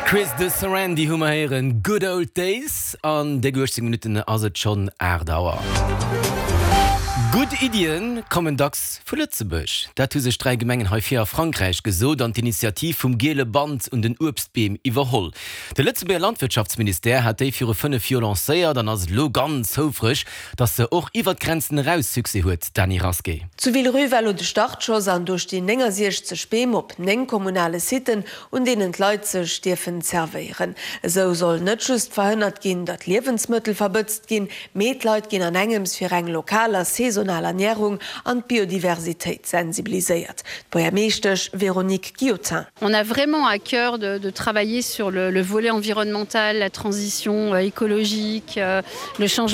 Chris de Sarandy hu mer héieren, Good Old Days. An déck 18 Minutten ass et schonn 8 Auer. Gutt Iddien kommen dacks vu Lëtzebuerg. Dat hu sech 3 Gemengen hei vir a Frankräich gesot an d'Initiativ vum giele Band un den Uebstbeem iwwerholl. De Lëtzebuerger Landwirtschaftsministère hat déi viru 5 Joer lancéiert an ass elo ganz houfreg, datt se och iwwer d'Grenzen eraus Succès huet, Dany Rasqué. Zu Villerupt war lo de Startschoss an do stinn 69 Beem op 9 kommunale Siten, un deenen d'Leit sech dierfen zerwéieren. Esou soll net just verhënnert ginn, datt Liewensmëttel verbëtzt ginn, mee d'Leit ginn an engems fir eng lokal a saisonal Ernärung an d'Biodiversitéit sensibiliséiert. D'Buergermeeschtesch Véronique Guillotin. On a vraiment à cœur de de travailler sur le le volet environnemental, la transition écologique, le changement.